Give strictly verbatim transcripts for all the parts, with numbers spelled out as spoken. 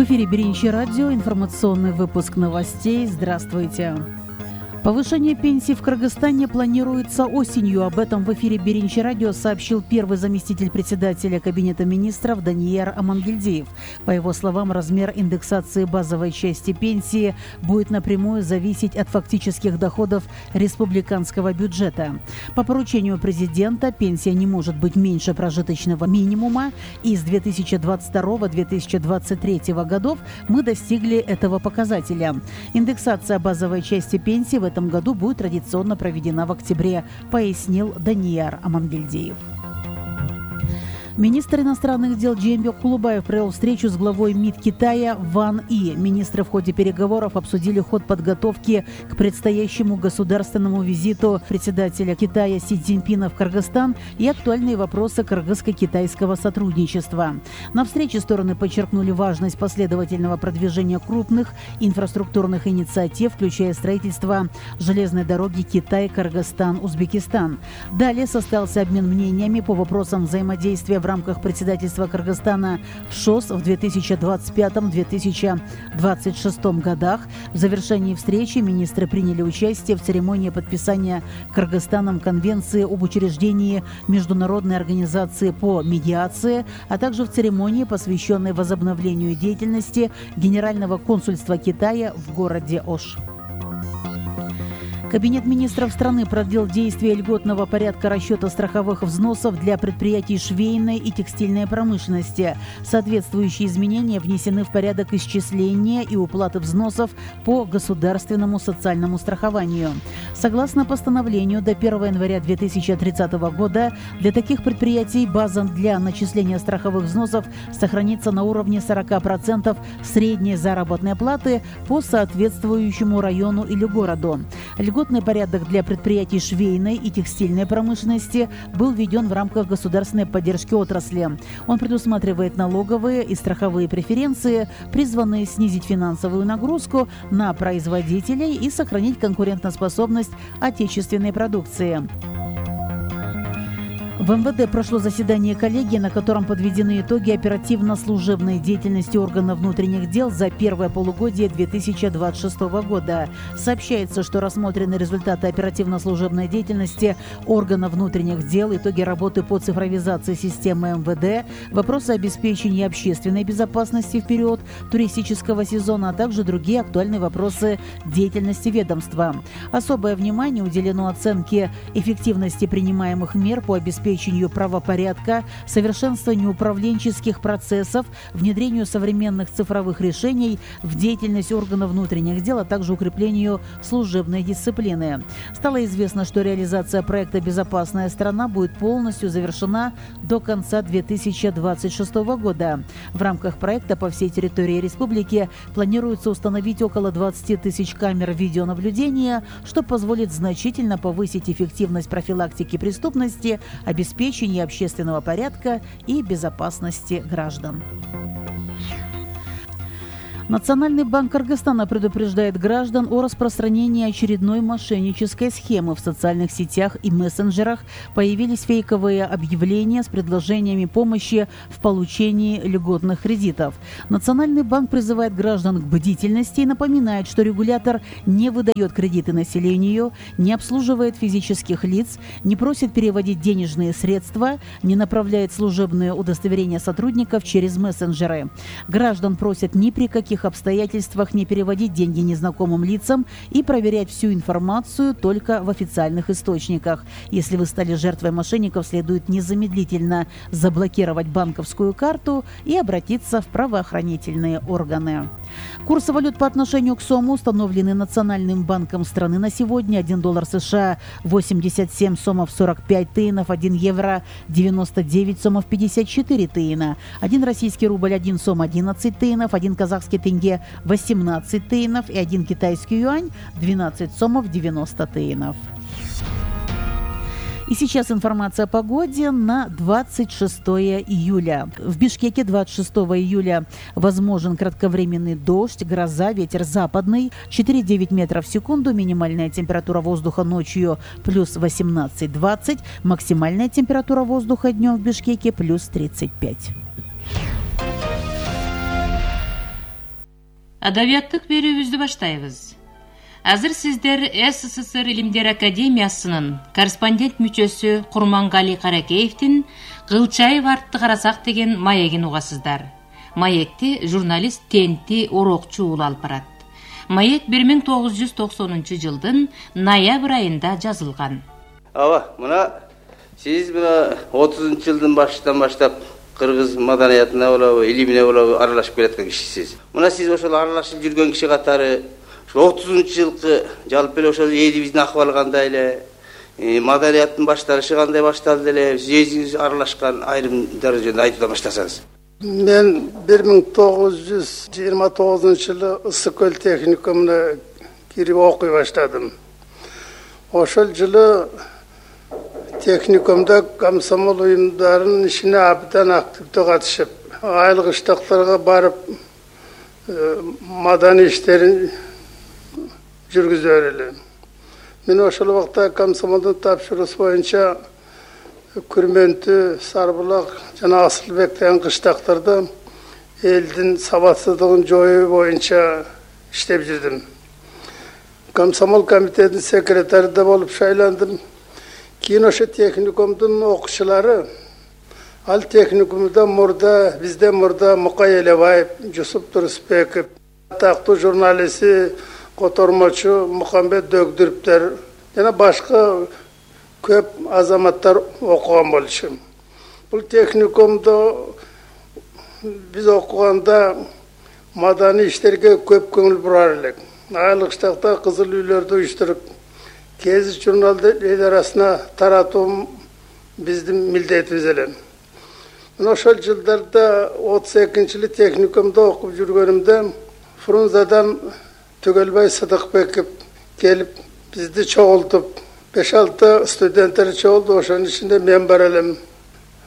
В эфире Биринчи радио, информационный выпуск новостей. Здравствуйте. Повышение пенсий в Кыргызстане планируется осенью. Об этом в эфире Биринчи радио сообщил первый заместитель председателя Кабинета министров Данияр Амангельдиев. По его словам, размер индексации базовой части пенсии будет напрямую зависеть от фактических доходов республиканского бюджета. По поручению президента пенсия не может быть меньше прожиточного минимума, и с две тысячи двадцать второго — две тысячи двадцать третьего годов мы достигли этого показателя. Индексация базовой части пенсии в этом году будет традиционно проведена в октябре, пояснил Данияр Амангельдиев. Министр иностранных дел Джеймбек Кулубаев провел встречу с главой МИД Китая Ван И. Министры в ходе переговоров обсудили ход подготовки к предстоящему государственному визиту председателя Китая Си Цзиньпина в Кыргызстан и актуальные вопросы кыргызско-китайского сотрудничества. На встрече стороны подчеркнули важность последовательного продвижения крупных инфраструктурных инициатив, включая строительство железной дороги Китай-Кыргызстан-Узбекистан. Далее состоялся обмен мнениями по вопросам взаимодействия в рамках председательства Кыргызстана в ШОС в две тысячи двадцать пятом — две тысячи двадцать шестом годах. В завершении встречи министры приняли участие в церемонии подписания Кыргызстаном Конвенции об учреждении Международной организации по медиации, а также в церемонии, посвященной возобновлению деятельности Генерального консульства Китая в городе Ош. Кабинет министров страны продлил действие льготного порядка расчета страховых взносов для предприятий швейной и текстильной промышленности. Соответствующие изменения внесены в порядок исчисления и уплаты взносов по государственному социальному страхованию. Согласно постановлению, до первого января две тысячи тридцатого года для таких предприятий база для начисления страховых взносов сохранится на уровне сорока процентов средней заработной платы по соответствующему району или городу. Льготный порядок для предприятий швейной и текстильной промышленности был введен в рамках государственной поддержки отрасли. Он предусматривает налоговые и страховые преференции, призванные снизить финансовую нагрузку на производителей и сохранить конкурентоспособность отечественной продукции. В эм вэ дэ прошло заседание коллегии, на котором подведены итоги оперативно-служебной деятельности органов внутренних дел за первое полугодие две тысячи двадцать шестого года. Сообщается, что рассмотрены результаты оперативно-служебной деятельности органов внутренних дел, итоги работы по цифровизации системы эм вэ дэ, вопросы обеспечения общественной безопасности в период туристического сезона, а также другие актуальные вопросы деятельности ведомства. Особое внимание уделено оценке эффективности принимаемых мер по обеспечению обеспечению правопорядка, совершенствованию управленческих процессов, внедрению современных цифровых решений в деятельность органов внутренних дел, а также укреплению служебной дисциплины. Стало известно, что реализация проекта «Безопасная страна» будет полностью завершена до конца две тысячи двадцать шестого года. В рамках проекта по всей территории республики планируется установить около двадцати тысяч камер видеонаблюдения, что позволит значительно повысить эффективность профилактики преступности, обеспечения общественного порядка и безопасности граждан. Национальный банк Кыргызстана предупреждает граждан о распространении очередной мошеннической схемы. В социальных сетях и мессенджерах появились фейковые объявления с предложениями помощи в получении льготных кредитов. Национальный банк призывает граждан к бдительности и напоминает, что регулятор не выдает кредиты населению, не обслуживает физических лиц, не просит переводить денежные средства, не направляет служебные удостоверения сотрудников через мессенджеры. Граждан просят ни при каких обстоятельствах не переводить деньги незнакомым лицам и проверять всю информацию только в официальных источниках. Если вы стали жертвой мошенников, следует незамедлительно заблокировать банковскую карту и обратиться в правоохранительные органы. Курсы валют по отношению к сому установлены Национальным банком страны на сегодня. один доллар США восемьдесят семь сомов сорок пять тыинов, один евро девяносто девять сомов пятьдесят четыре тыина, один российский рубль один сом одиннадцать тыинов, один казахский тенге восемнадцать тыинов и один китайский юань двенадцать сомов девяносто тыинов. И сейчас информация о погоде на двадцать шестое июля. В Бишкеке двадцать шестого июля возможен кратковременный дождь, гроза, ветер западный четыре - девять метров в секунду, минимальная температура воздуха ночью плюс восемнадцать - двадцать, максимальная температура воздуха днем в Бишкеке плюс тридцать пять. Адабияттык берүүбүздү баштайбыз. Азыр сиздер СССР Илимдер Академиясынын корреспондент мүчөсү Курмангали Каракеевдин «Кылчайып артты карасак» деген маегин угасыздар. Маекти журналист Тенти Орокчу уулу алып барат. Маек бир миң тогуз жүз токсонунчу жылдын ноябрь айында жазылган. Ава, мына сиз мына отузунчу жылдын башынан баштап кыргыз маданиятына болобу, илимине болобу аралашып келаткан кишисиз. Мына сиз ошол аралашып жүргөн киши катары отузунчу жылкы жалпы эле ошол элибиздин акыбалы кандай эле, маданияттын башталышы кандай башталды эле, сиз өзүңүз аралашкан айрымдар жөнүндө айтуудан баштасаңыз. Мен бир миң тогуз жүз жыйырма тогузунчу жылы Ысык көл техникумуна кирип окуй баштадым. Ошол жылы техникумда комсомол уюмдарынын ишине абдан активдүү катышып, айыл кыштактарга барып маданий иштерин жүргүзөр элем. Мен ошол убакта комсомолдун тапшырыгы боюнча Күрмөнтү, Сарбулак жана Асылбек деген кыштактарда элдин сабатсыздыгын жоюу боюнча иштеп жүрдүм. Комсомол комитетинин секретары да болуп шайландым. Кийин ошо техникумдун окуучулары, ал техникумда мурда, бизден мурда Мукай Элебаев, Жусуп Турусбеков, атактуу журналисти, котормочу Мухамбет Дөгдүрүптөр жана башка көп азаматтар окуган болчу. Бул техникумда биз окуганда маданий иштерге көп көңүл бурар элек. Айыл кыштакта кызыл үйлөрдү уюштуруп, кез журналды эл арасына таратуу биздин милдетибиз эле. Мен ошол жылдарда отуз экинчи жылы техникумда окуп жүргөнүмдө Фрунзадан Түгөлбай Сыдыкбеков келип бизди чогултуп, беш алты студенттер чогулду, ошонун ичинде мен бар элем.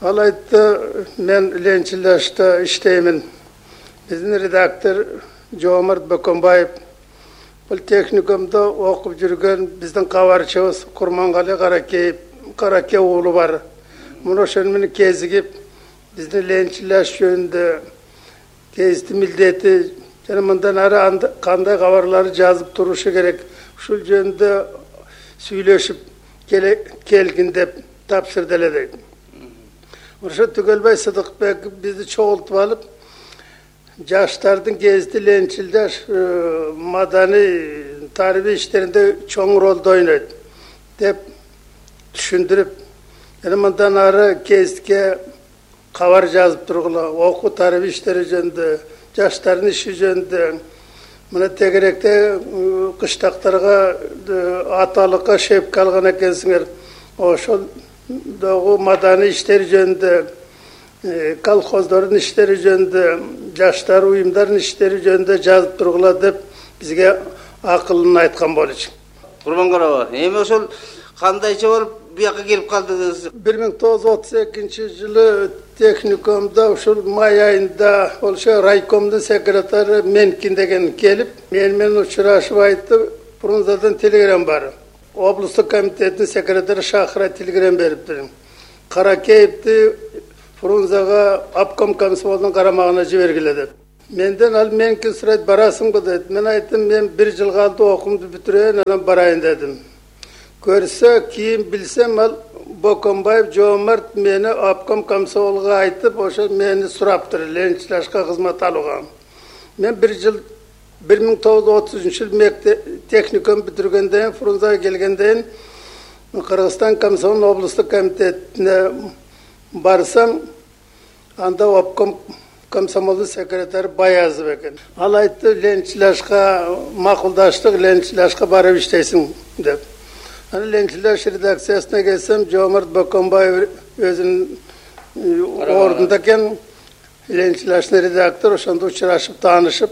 Ал айтты, мен Ленчилашта иштеймин. Биздин редактор Жоомарт Бөкөнбаев, бул техникумда окуп жүргөн биздин кабарчыбыз Курмангали Каракеев, Караке уулу бар. Муну ошону менен кезигип, биздин Ленчилаш жөнүндө кезди милдети жана мындан ары кандай кабарларды жазып турушу керек, ушул жөнүндө сүйлөшүп келгин деп тапшырды эле дейт. Ошо Түгөлбай Сыдыкбеков бизди чогултуп алып, жаштардын кезди Ленчилдаш маданий тарбий иштеринде чоң ролду ойнойт деп түшүндүрүп, жана мындан ары кездикке кабар жазып тургула, окуу тарбий иштери жөнүндө, жаштардын иши жөнүндө, мына тегеректе кыштактарга аталыкка шепке алган экенсиңер, ошол дагы маданий иштери жөнүндө, колхоздордун иштери жөнүндө, жаштар уюмдардын иштери жөнүндө жазып тургула деп бизге акылын айткан болчу. Курмангали, эми ошол кандайча болуп бияка келип калдыңыз? бир миң тогуз жүз отуз экинчи жылы техникумда ушул май айында ошо райкомдун секретары Менкин деген келип, мен менен учурашып айтты, Фрунзадан телеграмма бар. Облустук комитеттин секретары Шахра телеграмма бериптир. Каракеевди Фрунзага обком комсомолдун карамагына жибергиле деп. Менден ал Менкин сурайт, барасыңбы дейт. Мен айттым, мен бир жыл калды окуумду бүтүрөйүн, анан барайын дедим. Көрсө, кийин билсем, ал Бөкөнбаев Жоомарт мени обком комсомолго айтып, ошо мени сураптыр, Ленчилашка кызмат алууга. Мен бир жыл бир миң тогуз жүз отузунчу жылы техникум бүтүргөндөн, Фрунзага келгенден Кыргызстан комсомол облустук комитетине барсам, анда обком комсомолдун секретары Баязов экен. Ал айтты, Ленчилашка макулдаштык, Ленчилашка барып иштейсиң деп. Аны Ленчилаш редакциясына келсем, Жоомарт Бөкөнбаев өзүнүн ордунда экен, Ленчилаштын редактор, ошондо учурашып, таанышып,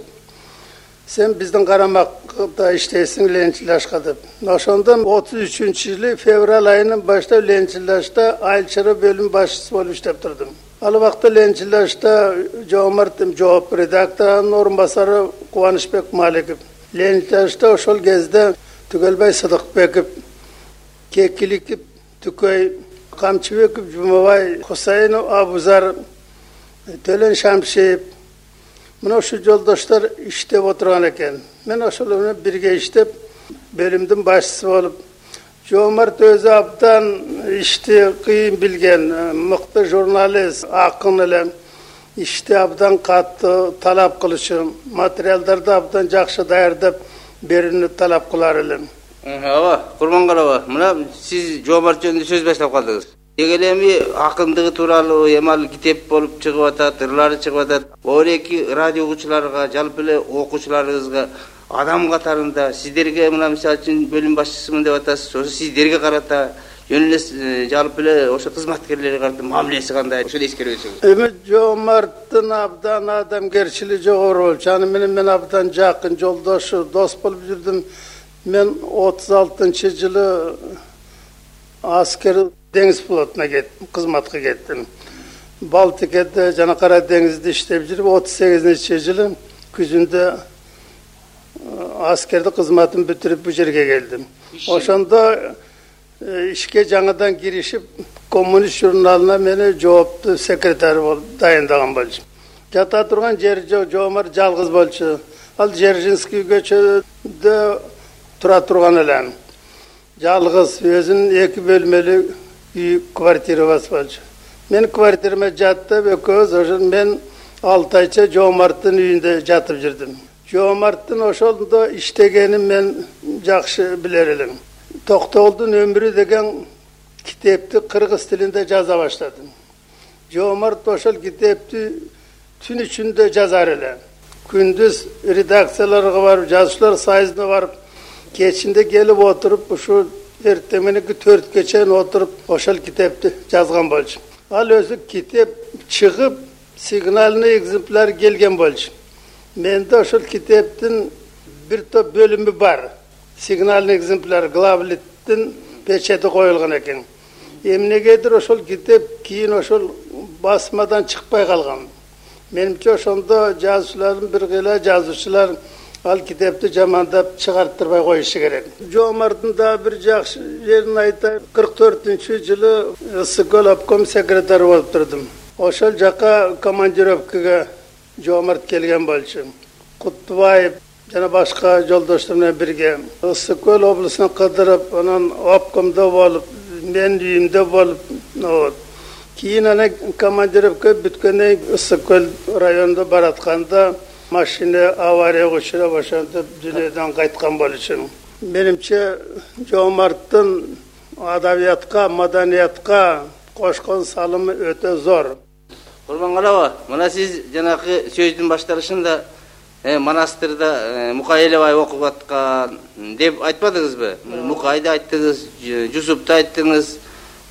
сен биздин карамакта иштейсиң Ленчилашка деп. Ошондон отуз үчүнчү жылы февраль айынан баштап Ленчилашта айыл чара бөлүм башчысы болуп иштеп турдум. Ал убакта Ленчилашта Жоомарт жооп редакторунун орун басары Кубанычбек Маликов. Ленчилашта ошол кезде Түгөлбай Сыдыкбеков, Кекиликов, Түкөй, Камчыбеков, Жумабай, Хусайынов, Абузар, Төлөн Шамшиев, Мына ушу жолдоштор иштеп отурган экен. Мен ошолор менен бирге иштеп, бөлүмдүн башчысы болуп, Жоомарт өзү абдан ишти кыйын билген, мыкты журналист, акын эле, ишти абдан катты талап кылышы, материалдарды абдан жакшы даярдап берүүнү талап кылар элем. Ооба, Курмангалова, мына сиз Жоомарт жөнүндө сөз баштап калдыңыз. Деги эле эми акындыгы тууралуу эмал китеп болуп чыгып атат, ырлары чыгып атат. Оореки радио угуучуларга, жалпы эле окуучуларыбызга адам катарында сиздерге мына мисалы үчүн бөлүм башчысымын деп атасыз. Ошо сиздерге карата жөн эле жалпы эле ошо кызматкерлерге карата мамилеси кандай? Ошону эскерип өтсөңүз. Эми Жоомарттын абдан адамгерчилиги жогору болчу. Аны менен мен абдан жакын жолдошу, дос болуп жүрдүм. Мен отуз алтынчы жылы аскер деңиз флотуна кеттим, кызматка кеттим. Балтикеде жана Кара деңизде иштеп жүрүп, отуз сегизинчи жылы күзүндө аскерди кызматын бүтүрүп бу жерге келдим. Ошондо ишке жаңадан киришип, Коммунист журналына мени жооптуу секретарь болуп дайындаган болчу. Жата турган жери жок, Жоомарт жалгыз болчу. Ал Дзержинский көчөдө тура турган эле. Жалгыз өзүнүн эки бөлмөлүү үй квартирасы болчу. Мен квартирама жаттып, экөөбүз ошо мен алты айча Жоомарттын үйүндө жатып жүрдүм. Жоомарттын ошондо иштегенин мен жакшы билер элем. Токтогулдун өмүрү деген китепти кыргыз тилинде жаза баштадым. Жоомарт ошол китепти түн ичинде жазар эле. Күндүз редакцияларга барып, жазуучулар союзуна барып, кечинде келип отуруп, ушу эртең мененки төрткө чейин отуруп, ошол китепти жазган болчу. Ал өзү китеп чыгып, сигнальный экземпляр келген болчу. Менде ошол китептин бир топ бөлүмү бар. Сигнальный экземпляр главлиттин печати коюлган экен. Эмнегедир ошол китеп кийин ошол басмадан чыкпай калган. Менимче ошондо жазуучулардын бир кыйла жазуучулар ал китепти жамандап чыгарттырбай коюшу керек. Жоомарттын да бир жакшы жерин айтайын. кырк төртүнчү жылы Ысык-Көл обком секретары болуп турдум. Ошол жака командировкага Жоомарт келген болчу. Куттубаев жана башка жолдоштор менен бирге Ысык-Көл облусуна кыдырып, анан обкомдо болуп, мен үйүмдө болуп, кийин ана командировка бүткөндөн кийин Ысык-Көл районунда баратканда машина аварияга учурап, ошентип дүйнөдөн кайткан болчу. Менимче Жоомарттын адабиятка, маданиятка кошкон салымы өтө зор. Курмангалова, мына сиз жанакы сөздүн башталышында монастырда Мукай Элебай окуп аткан деп айтпадыңызбы? Мукайды айттыңыз, Жусупту айттыңыз,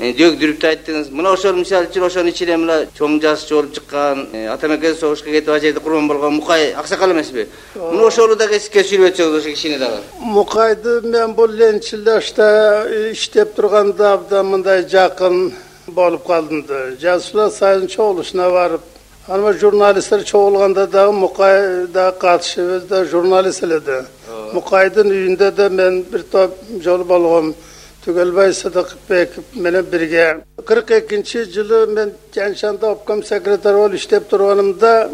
Дөгдүрүптү айттыңыз. Мына ошол мисалы үчүн ошонун ичинде мына чоң жазуучу болуп чыккан, ата мекен согушка кетип ажайда курман болгон Мукай аксакал эмеспи? Мына ошону дагы эске сүрүп өтсөңүз ошо кишини дагы. Мукайды мен бул Ленчилдашта иштеп турганда абдан мындай жакын болуп калдым да. Жазуучулар союзунун чогулушуна барып, анан журналисттер чогулганда дагы Мукай да катышып, өзү да журналист эле да. Мукайдын үйүндө да мен бир топ жолу болгом. Түгелбай Садыкбеков менен бирге. кырк экинчи жылы мен Жаншанда обком секретары болуп иштеп турганымда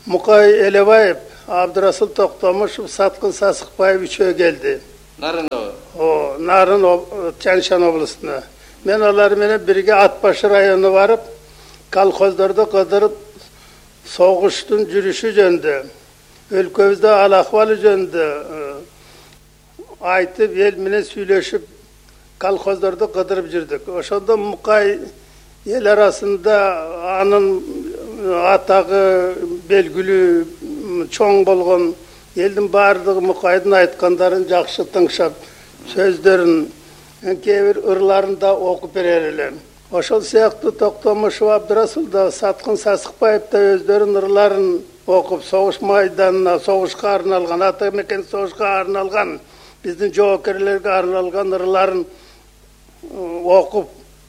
Мукай Элебаев, Абдырасыл Токтомушев, Саткын Сасыкбаев үчөө келди. Нарында? О, Нарын Жаншан облусуна. Мен алар менен бирге Атбашы районуна барып, колхоздорду кыдырып, согуштун жүрүшү жөнүндө, өлкөбүздө ал акыбалы жөнүндө айтып, эл менен сүйлөшүп, колхоздорду кыдырып жүрдүк. Ошондо Мукай эл арасында анын атагы белгилүү чоң болгон, элдин баардыгы Мукайдын айткандарын жакшы тыңшап, сөздөрүн, кээ бир ырларын да окуп берер эле. Ошол сыяктуу Токтомушев, Абдырасыл да, Саткын Сасыкбаев да өздөрүнүн ырларын окуп, согуш майданына, согушка арналган, ата мекен согушка арналган, биздин жоокерлерге арналган ырларын окуп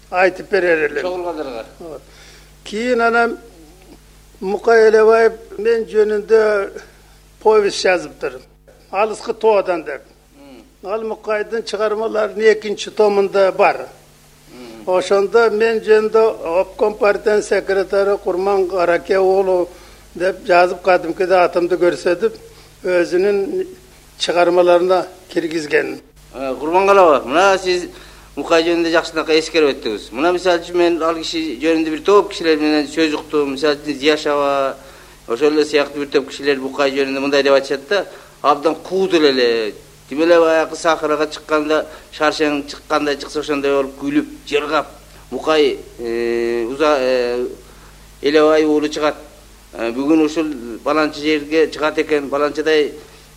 айтып берер элем. Чогулгандарга. Кийин анан Мукай Элебаев мен жөнүндө повесть жазыптыр. Алыскы тоодан деп. Ал Мукайдын чыгармаларынын экинчи томунда бар. Ошондо мен жөнүндө обком партиянын секретары Курман Караке уулу деп жазып кадимкиде атымды көрсөтүп өзүнүн чыгармаларына киргизген. Курбангалова, мына сиз Мукай жөнүндө жакшынакай эскерип өттүңүз. Мына мисалы үчүн мен ал киши жөнүндө бир топ кишилер менен сөз уктум. Мисалы үчүн Зияшева, ошол эле сыяктуу бир топ кишилер Мукай жөнүндө мындай деп айтышат да, абдан куудул эле. Тим эле баягы Сахарага чыкканда, шаршең чыккандай чыкса ошондой болуп күлүп, жыргап, Мукай уза элебай уулу чыгат. Бүгүн ушул баланча жерге чыгат экен, баланчадай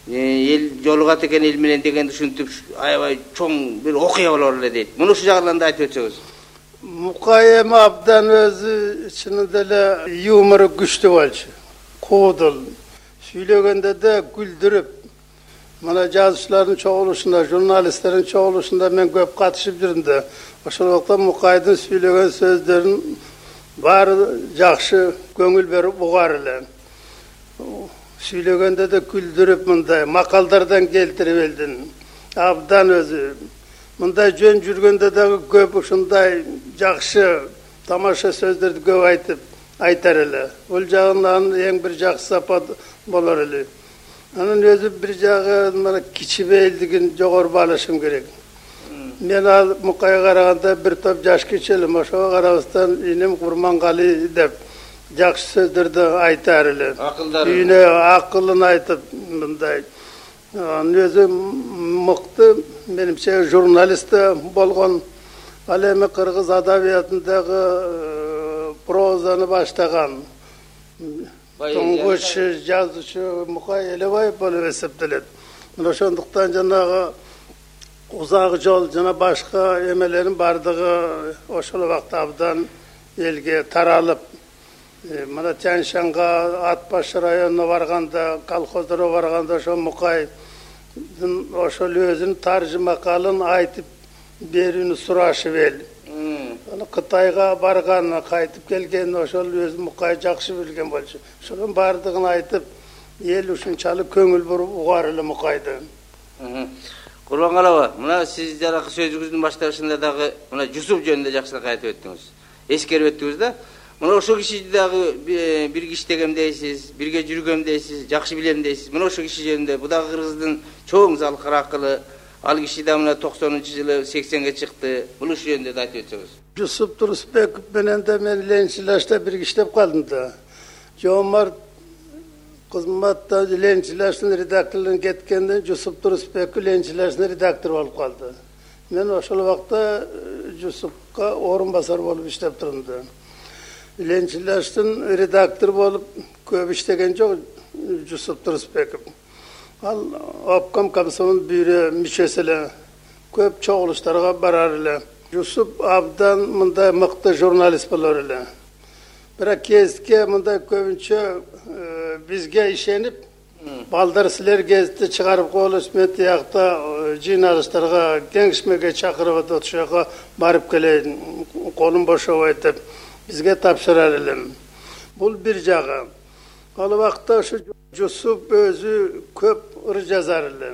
эл жолугат экен эл менен дегенди ушинтип аябай чоң бир окуя болор эле дейт. Муну ушул жагынан да айтып өтсөңүз. Мукай эми абдан өзү чынында эле юмору күчтүү болчу. Куудул. Сүйлөгөндө да күлдүрүп. Мына жазуучулардын чогулушунда, журналисттердин чогулушунда мен көп катышып жүрдүм да. Ошол убакта Мукайдын сүйлөгөн сөздөрүн баары жакшы көңүл берип угар эле. Сүйлөгөндө да күлдүрүп мындай макалдардан келтирип элдин. Абдан өзү мындай жөн жүргөндө дагы көп ушундай жакшы тамаша сөздөрдү көп айтып айтар эле. Бул жагынан эң бир жакшы сапат болор эле. Анын өзү бир жагы мына кичибейлдигин жогору баалашым керек. Мен ал Мукайга караганда бир топ жаш кичелим, ошого карабастан инем Курмангали деп жакшы сөздөрдү айтар эле. Үйүнө акылын айтып мындай. Анын өзү мыкты, менимче журналист болгон. Ал эми кыргыз адабиятындагы прозаны баштаган. Туңгуч жазуучу Мукай Элебаев болуп эсептелет. Мына ошондуктан жанагы узак жол жана башка эмелерин бардыгы ошол убакта абдан элге таралып, мына Тянь-Шанга, Ат Баш районуна барганда, колхоздорго барганда ошо Мукайдын ошол өзүнүн таржыма калын айтып берүүнү сурашып эл. Кытайга барган, кайтып келген ошол өзү Мукай жакшы билген болчу. Ошонун бардыгын айтып, эл ушунчалык көңүл буруп угар эле Мукайды. Курбангалова, мына сиз жаракы сөзүңүздүн башталышында дагы мына Жусуп жөнүндө жакшыраак айтып өттүңүз. Эскерип өттүңүз да. Мына ошол киши дагы бир иштегем дейсиз, бирге жүргөм дейсиз, жакшы билем дейсиз. Мына ошол киши жөнүндө бу дагы кыргыздын чоң залкыр акылы. Ал киши да мына токсонунчу жылы сексенге чыкты. Бул ушул жөнүндө да айтып өтсөңүз. Жусуп Турусбеков менен да мен Ленчилашта биргиштеп калдым да. Жомарт кызматта Ленчилаштын редакторлугуна кеткенден Жусуп Турусбеков Ленчилаштын редактор болуп калды. Мен ошол убакта Жусупка орун басар болуп иштеп турдум да. Ленчилаштын редактор болуп көп иштеген жок Жусуп Турусбеков. Ал обком комсомол бюро мүчөсү эле, көп чогулуштарга барар эле. Жусуп абдан мындай мыкты журналист болор эле. Бирок кезитке мындай көбүнчө бизге ишенип, балдар силер кезитти чыгарып коелуш, мен тиякта жыйналыштарга, кеңешмеге чакырып атып, ошого барып келейин, колум бошобойт деп бизге тапшырар элем. Бул бир жагы. Ал убакта ушу Жусуп өзү көп ыр жазар эле.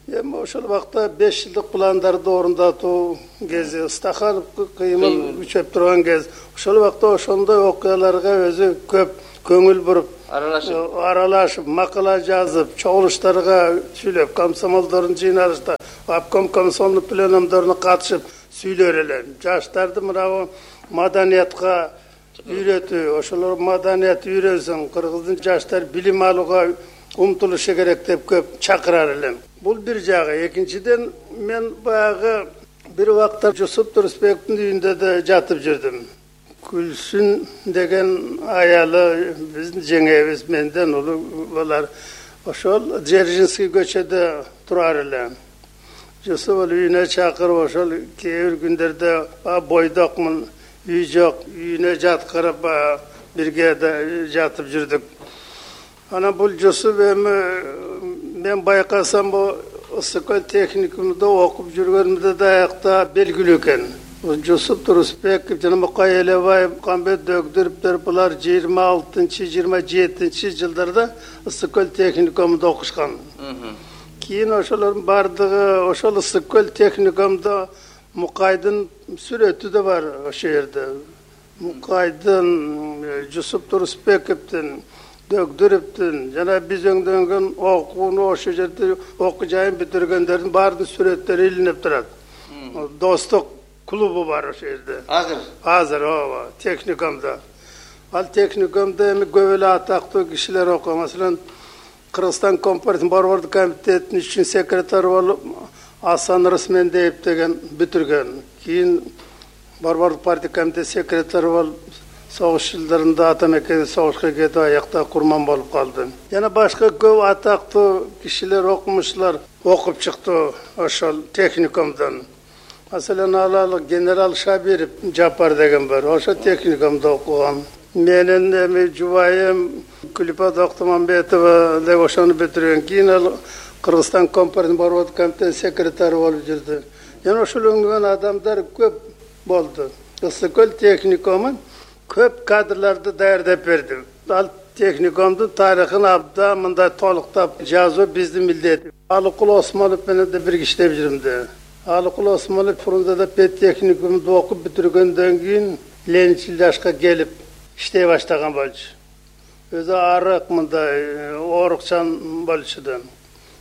Эми ошол убакта беш жылдык пландарды орундатуу кези, Стаханов кыймыл күчөп турган кез. Ошол убакта ошондой окуяларга өзү көп көңүл буруп, аралашып, аралашып, макала жазып, чогулуштарга сүйлөп, комсомолдордун жыйналышта, обком комсомол пленумдоруна катышып сүйлөр эле. Жаштарды мына маданиятка үйрөтүү, ошолор маданият үйрөнсүн, кыргыздын жаштар билим алууга умтулушу керек деп көп чакырар элем. Бул бир жагы. Экинчиден мен баягы бир убакта Жусуп Турусбековдун үйүндө да жатып жүрдүм. Күлсүн деген аялы биздин жеңебиз менден улуу болар. Ошол Дзержинский көчөдө турар эле. Жусуп үйүнө чакырып, ошол кээ бир күндөрдө бойдокмун, үй жок, үйүнө жаткырып бирге жатып жүрдүк. Ана бул Жусуп эми мен байкасам бу Ысыкөл техникумда окуп жүргөнүмдө да аякта белгилүү экен. Жусуп Турусбеков жана Мукай Элебаев, Камбет Дөгдүрүптөр булар жыйырма алтынчы жыйырма жетинчи жылдарда Ысыкөл техникумда окушкан. Кийин ошолордун бардыгы ошол Ысыкөл техникумда Мукайдын сүрөтү да бар ошол жерде. Мукайдын, Жусуп Турусбековдун, Дөгдүрүптүн жана биз өңдөнгөн окууну ошол жерде окуу жайын бүтүргөндөрдүн баардык сүрөттөрү илинип турат. Достук клубу бар ошол жерде. Азыр. Азыр ооба, техникумда. Ал техникумда эми көп эле атактуу кишилер окуйт. Маселен, Кыргызстан Компартиянын Борбордук комитетинин үчүнчү секретары болуп Асан Рысмендеев деген бүтүргөн. Кийин Борбордук партия комитет секретары болуп согуш жылдарында ата мекенде согушка кетип аякта курман болуп калды. Жана башка көп атактуу кишилер, окумуштуулар окуп чыкты ошол техникумдан. Маселен, алалы генерал Шабиров Жапар деген бар. Ошо техникумда окуган. Менин эми жубайым Күлүпа Доктумамбетова да ошону бүтүргөн. Кийин ал Кыргызстан Компартиянын Борбордук комитетинин секретары болуп жүрдү. Жана ошол өңдөгөн адамдар көп болду. Ысык көл техникумун көп кадрларды даярдап берди. Ал техникумдун тарыхын абдан мындай толуктап жазуу биздин милдет. Алыкул Осмонов менен да бир иштеп жүрүм да. Алыкул Осмонов Фрунзада педтехникумду окуп бүтүргөндөн кийин Ленинчил жашка келип иштей баштаган болчу. Өзү арык мындай оорукчан болчу да.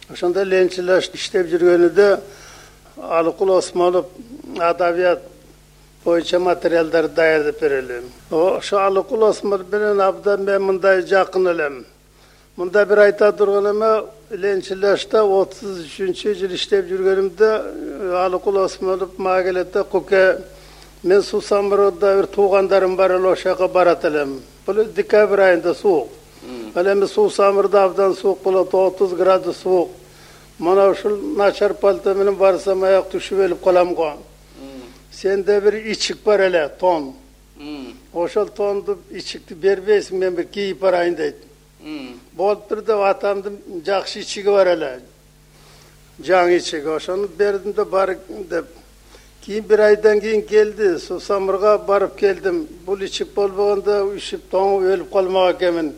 Ошондо Ленинчил жаш иштеп жүргөнүдө Алыкул Осмонов адабият боюнча материалдар даярдап берели. Ошо Алыкул Осмонов менен абдан мен мындай жакын элем. Мында бир айта турган эме, Ленинчил жашта отуз үчүнчү жыл иштеп жүргөнүмдө Алыкул Осмонов мага келет да, "Куке, мен Суу Самырда бир туугандарым бар эле, ошого барат элем." Бул декабрь айында суук. Ал эми Суу Самырда абдан суук болот, отуз градус суук. Мана ушул начар пальто менен барсам аяк түшүп өлүп калам го. Сенде бир ичик бар эле, тон. Ошол тонду, ичикти бербейсиң, мен бир кийип барайын дейт. Болуптур деп атамдын жакшы ичиги бар эле. Жаңы ичиги, ошону бердим да бар деп. Кийин бир айдан кийин келди, Суу Самырга барып келдим. Бул ичик болбогондо ушуп тоңуп өлүп калмак экенмин.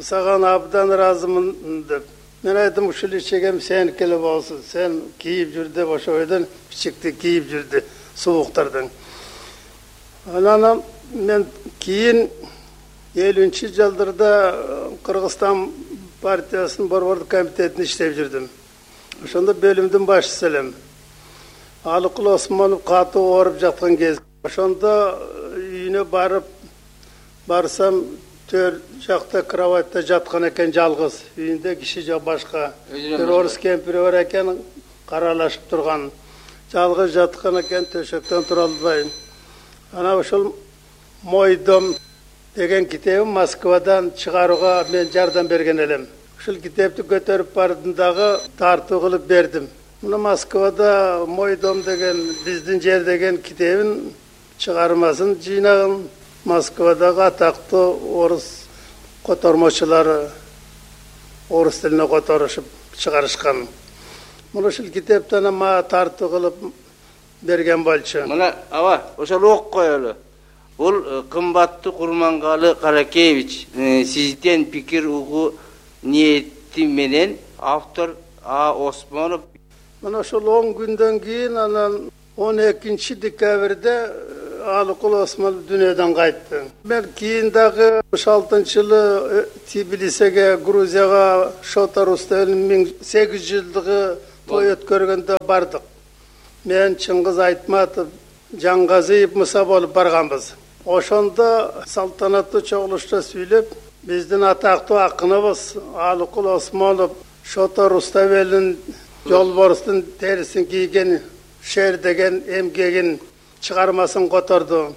Саган абдан ыраазымын деп. Мен айттым, ушул ичигим сеники эле болсун, сен кийип жүр деп ошойдон ичикти кийип жүрдү сууктардан. Анан мен кийин элүүнчү жылдарда Кыргызстан партиясынын Борбордук комитетинде иштеп жүрдүм. Ошондо бөлүмдүн башчысы элем. Алыкул Осмонов катуу ооруп жаткан кез. Ошондо үйүнө барып барсам, төр жакта кроватьта жаткан экен жалгыз. Үйүндө киши жок башка. Бир орус кемпири бар экен, каралашып турган. Жалгыз жаткан экен, төшөктөн тура албай. Ана ошол "Мой дом" деген китебин Москвадан чыгарууга мен жардам берген элем. Ушул китепти көтөрүп бардым дагы тартуу кылып бердим. Мына Москвада "Мой дом" деген биздин жер деген китебин чыгармасын жыйнаган Москвадагы атактуу орус котормочулары орус тилине которушуп чыгарышкан. Мына ушул китептен мага тартуу кылып берген болчу. Мына аба, ошол окуп коелу. Бул кымбаттуу Курмангалы Каракеевич, сизден пикир угуу ниети менен автор А. Осмонов. Мына ошол он күндөн кийин анан он экинчи декабрда Алыкул Осмонов дүйнөдөн кайтты. Мен кийин дагы алтымыш алтынчы жылы Тбилисиге, Грузияга Шота Рустемовдун миң сегиз жүз жылдыгы той өткөргөндө бардык. Мен Чыңгыз Айтматов, Жаңгазиев Муса болуп барганбыз. Ошондо салтанаттуу чогулушта сүйлөп, биздин атактуу акыныбыз Алыкул Осмонов Шота Рустемовдун жолборустун терисин кийген шер деген эмгегин чыгармасын которду.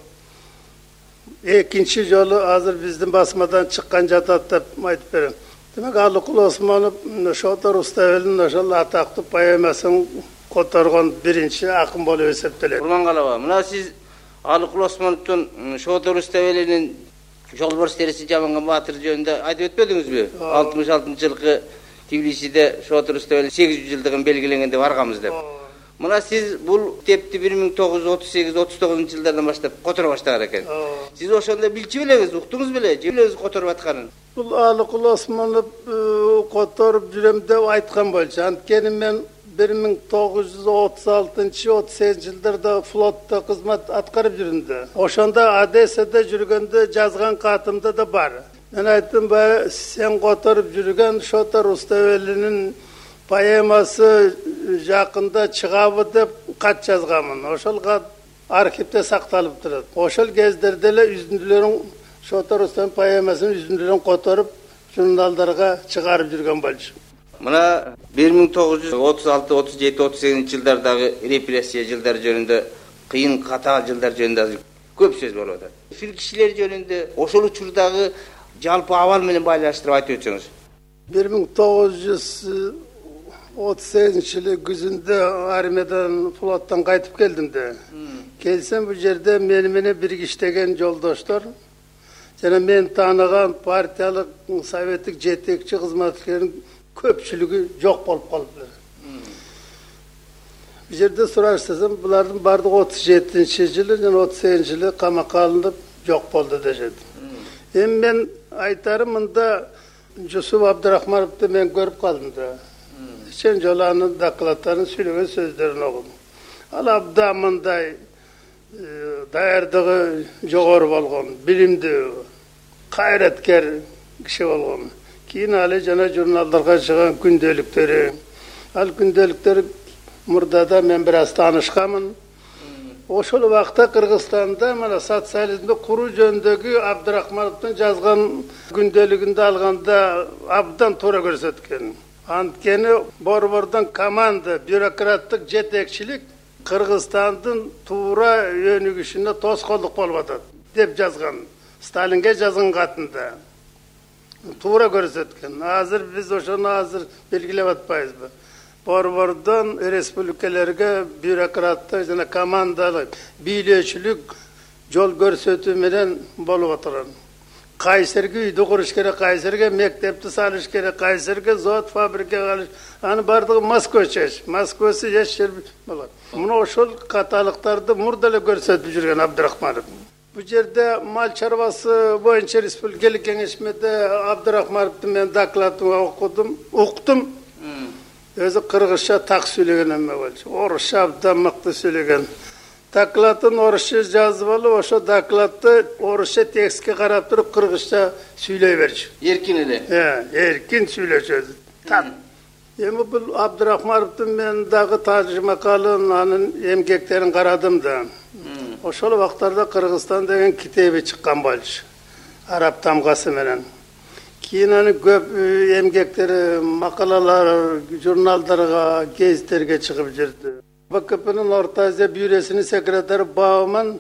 Экинчи жолу азыр биздин басмадан чыккан жатат деп айтып берем. Демек Алыкул Осмонов Шота Рустемовдун ошол атактуу поэмасын которгон биринчи акын болуп эсептелет. Курмангалова, мына сиз Алыкул Осмоновдун Шота Рустемовдун жолборс териси жаманган баатыр жөнүндө айтып өтпөдүңүзбү? алтымыш алтынчы жылкы Тбилисиде Шота Рустемовдун сегиз жүз жылдыгын белгиленгенде барганбыз деп. Мына сиз бул китепти бир миң тогуз жүз отуз сегиз отуз тогузунчу жылдардан баштап которо баштаган экен. Сиз ошондо билчү белеңиз, уктуңуз беле, же өзү которуп атканын? Бул Алыкул Осмонов которуп жүрөм деп айткан болчу. Анткени мен бир миң тогуз жүз отуз алтынчы отуз сегизинчи жылдарда флотто кызмат аткарып жүрдүм да. Ошондо Одессада жүргөндө жазган катымда да бар. Мен айттым, баягы сен которуп жүргөн Шота Руставелинин поэмасы жакында чыгабы деп кат жазганмын. Ошол кат архивде сакталып турат. Ошол кездерде эле үзүндүлөрүн Шота Руставелин поэмасынын үзүндүлөрүн которуп журналдарга чыгарып жүргөн болчу. Мына бир миң тогуз жүз отуз алты, отуз жети, отуз сегизинчи жылдардагы репрессия жылдар жөнүндө, кыйын катаал жылдар жөнүндө көп сөз болуп атат. Фил кишилер жөнүндө ошол учурдагы жалпы абал менен байланыштырып айтып өтсөңүз. бир миң тогуз жүз отуз сегизинчи жылы күзүндө армиядан, флоттон кайтып келдим да. Келсем бул жерде мени менен бирге иштеген жолдоштор жана мен тааныган партиялык, советтик жетекчи кызматкерлердин көпчүлүгү жок болуп калыптыр. Бул жерде сурашсам, булардын бардыгы отуз жетинчи жылы жана отуз сегизинчи жылы камакка алынып жок болду дешет. Эми мен айтарым, мында Жусуп Абдрахмановду мен көрүп калдым да. Сен жолу анын докладдарын, сүйлөгөн сөздөрүн окудум. Ал абдан мындай даярдыгы жогору болгон, билимдүү, кайраткер киши болгон. Кийин али жана журналдарга чыган күндөлүктөрү, ал күндөлүктөр мурдада мен бир аз таанышканмын. Ошол убакта Кыргызстанда мына социализмди куруу жөнүндөгү Абдрахмановдун жазган күндөлүгүндө алганда абдан туура көрсөткөн. Анткени борбордон команда, бюрократтык жетекчилик Кыргызстандын туура өнүгүшүнө тоскоолдук болуп атат деп жазган. Сталинге жазган катында туура көрсөткөн. Азыр биз ошону азыр белгилеп атпайбызбы? Борбордон республикаларга бюрократтык жана командалык, бийлөөчүлүк жол көрсөтүү менен болуп отурат. Кайсерге үйдү куруш керек, кайсерге мектепти салыш керек, кайсерге завод, фабрика кылыш, аны бардыгы Москвача, Москвасы эч жер болот. Мына ошол каталыктарды мурда эле көрсөтүп жүргөн Абдрахманов. Бул жерде мал чарбасы боюнча республикалык кеңешмеде Абдрахмановдун мен докладын окудум, уктум. Өзү кыргызча так сүйлөгөн эме болчу. Орусча абдан мыкты сүйлөгөн. Докладын орусча жазып алып, ошо докладты орусча текстке карап туруп кыргызча сүйлөй берчү. Эркин эле. Э, эркин сүйлөчү. Так. Эми бул Абдрахмановдун мен дагы тажмакалын, анын эмгектерин карадым да. Ошол убактарда Кыргызстан деген китеби чыккан болчу. Араб тамгасы менен. Кийин анын көп эмгектери, макалалар, журналдарга, гезиттерге чыгып жүрдү. Б К П'нин Орто Азия бюросунун секретары Бауман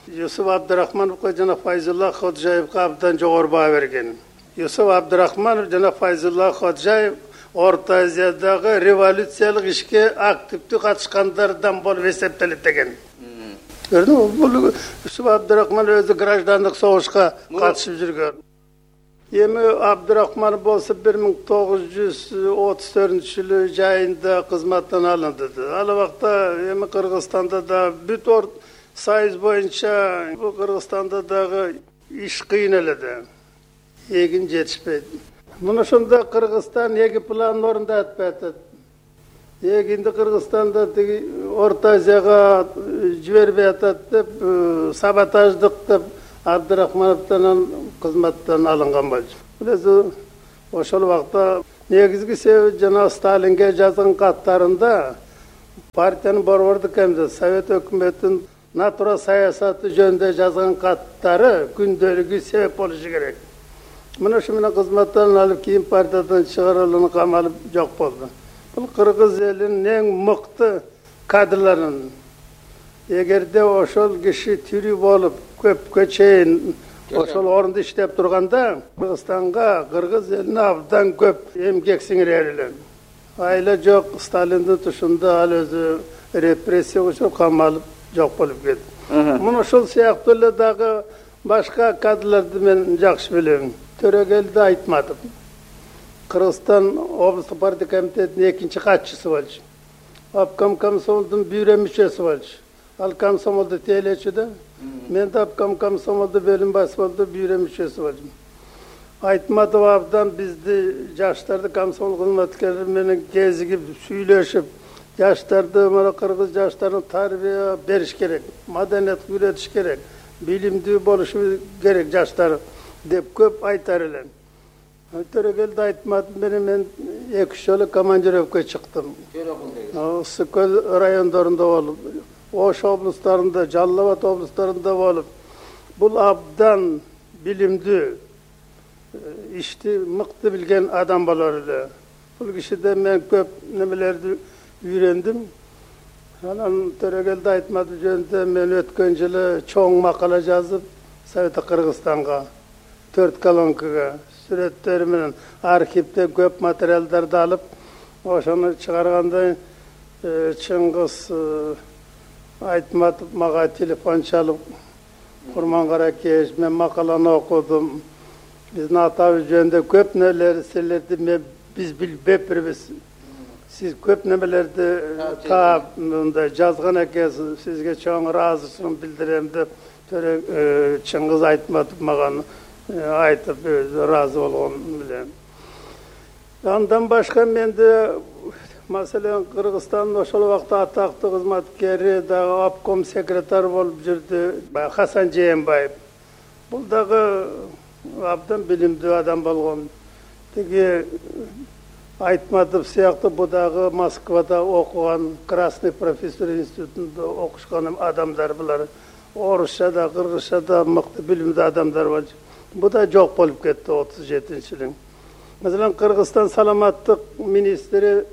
Юсуп Абдрахмановго жана Файзулла Ходжаевге абдан жогору баа берген. Юсуп Абдрахманов жана Файзулла Ходжаев Орто Азиядагы революциялык ишке активдүү катышкандардан болуп эсептелет деген. Көрдүңүзбү? Бул Юсуп Абдрахманов өзү граждандык согушка катышып жүргөн. Эми Абдрахманов болсо бир миң тогуз жүз отуз төртүнчү жылы жайында кызматтан алынды. Ал убакта эми Кыргызстанда да бүт ор союз боюнча бул Кыргызстанда дагы иш кыйын эле да. Эгин жетишпейт. Мына ошондо Кыргызстан эки планын орундай атпай атат. Эгинди Кыргызстанда тиги Орто Азияга жибербей атат деп, саботаждык деп Абдрахмановдон кызматтан алынган болчу. Бул ошол убакта негизги себеби жана Сталинге жазган каттарында партиянын борбордук комитети, Совет өкмөтүнүн натура саясаты жөнүндө жазган каттары күндөлүгү себеп болушу керек. Мына ошо менен кызматтан алып, кийин партиядан чыгарылып, камалып жок болду. Бул кыргыз элинин эң мыкты кадрларынын. Эгерде ошол киши тирүү болуп, көпкө чейин ошол орунда иштеп турганда, Кыргызстанга, кыргыз элине абдан көп эмгек сиңирер эле. Айла жок, Сталиндин тушунда ал өзү репрессия учуруп камалып жок болуп кетти. Мына ошол сыяктуу эле дагы башка кадрларды мен жакшы билем. Төрөгелди Айтматов. Кыргызстан облустук партия комитетинин экинчи катчысы болчу. Обком комсомолдун бюро мүчөсү болчу. Ал комсомолду тейлечү да. Мен да обком комсомолду бөлүм баш болду, бюро мүчөсү болдум. Айтматов абдан бизди жаштарды комсомол кызматкерлери менен кезигип, сүйлөшүп, жаштарды, мына кыргыз жаштарына тарбия бериш керек, маданиятка үйрөтүш керек, билимдүү болушу керек жаштар деп көп айтар элем. Төрөгелди Айтматов менен мен эки үч жолу командировкага чыктым. Ысык көл райондорунда болуп, Ош облустарында, Жалал Абад облустарында болуп, бул абдан билимдүү, ишти мыкты билген адам болор эле. Бул кишиден мен көп немелерди үйрөндүм. Анан Төрөгелди Айтматов жөнүндө мен өткөн жылы чоң макала жазып, Совет Кыргызстанга төрт колонкага сүрөттөр менен архивде көп материалдарды алып, ошону чыгарганда Чыңгыз Айтматов мага телефон чалып, Курмангаракеш, мен макаланы окудум. Биздин атабыз жөнүндө көп нерселерди мен биз билбеппирбиз. Сиз көп немелерди таап мындай жазган экенсиз, сизге чоң ыраазычылыгымды билдирем деп Чыңгыз Айтматов мага айтып ыраазы болгон билем. Андан башка менде маселен Кыргызстандын ошол убакта атактуу кызматкери дагы обком секретары болуп жүрдү Хасан Жээнбаев. Бул дагы абдан билимдүү адам болгон. Тиги Айтматов сыяктуу бу дагы Москвада окуган, Красный профессор институтунда окушкан адамдар булар. Орусча да, кыргызча да мыкты билимдүү адамдар болчу. Бу да жок болуп кетти отуз жетинчи жылы. Маселен, Кыргызстан саламаттык министри